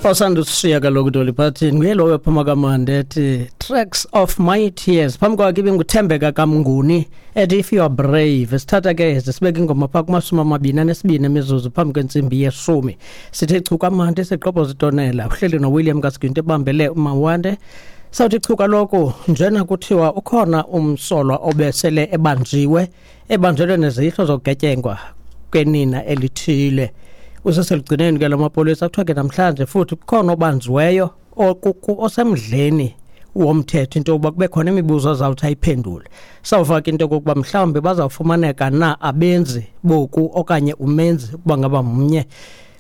Osandusishiya kaloku Dolly Parton nguye lowo ephuma kamandi ethi "Tracks of My Tears". Phambi kwakhe ibinguThembeka kaMnguni ethi "If You Are Brave". Sithatha ke sibeke ingoma phaa kuma-22 emizuzu phambi kwentsimbi yeshumi. Sithe chu kamandi, siqobhoza itonela. Uhleli noWilliam Kasiginto, ebambele uMawande. Sawuthi chu kaloku njena kuthiwa ukhona umsolwa obesele ebanjiwe, ebanjelwe nezihlo zokugetyengwa kwenina elithile. Useselugcineni ke lamapolisa. Kuthiwa ke namhlanje futhi kukhona obanjiweyo osemdleni womthetho into yokuba kube khona imibuzo azawuthi ayiphendule. Sawufaka into yokokuba mhlawumbi bazawufumaneka na abenzi boku okanye umenzi ukuba ngaba mnye.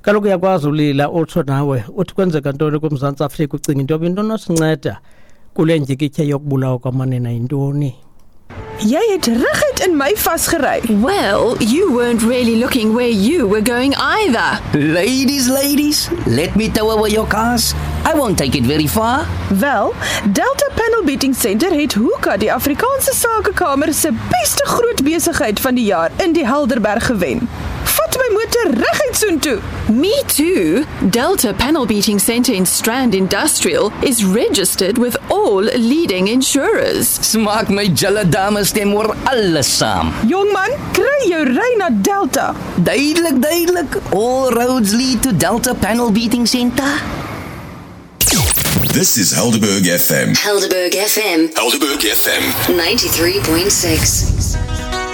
Kaloku uyakwazi ulila utsho nawe uthi kwenzeka ntoni kuMzantsi Afrika, ucinga into yoba into nosinceda kule ndyikityha yokubulawa kwamanina yintoni. Jy het reguit in my vasgery. Well, you weren't really looking where you were going either. Ladies, ladies, let me tow away your cars. I won't take it very far. Wel, Delta Panel Beating Center het Hoeka die Afrikaanse Sakekamer se beste groot besigheid van die jaar in die Helderberg gewen. Vat my motor reguit soontoe. Me too. Delta Panel Beating Center in Strand Industrial is registered with all leading insurers. Smaak my julle dames stem oor alles saam. Jongman, kry jou ry na Delta. Duidelik, duidelik. All roads lead to Delta Panel Beating Center. This is Helderberg FM. Helderberg FM Helderberg FM. 93.6.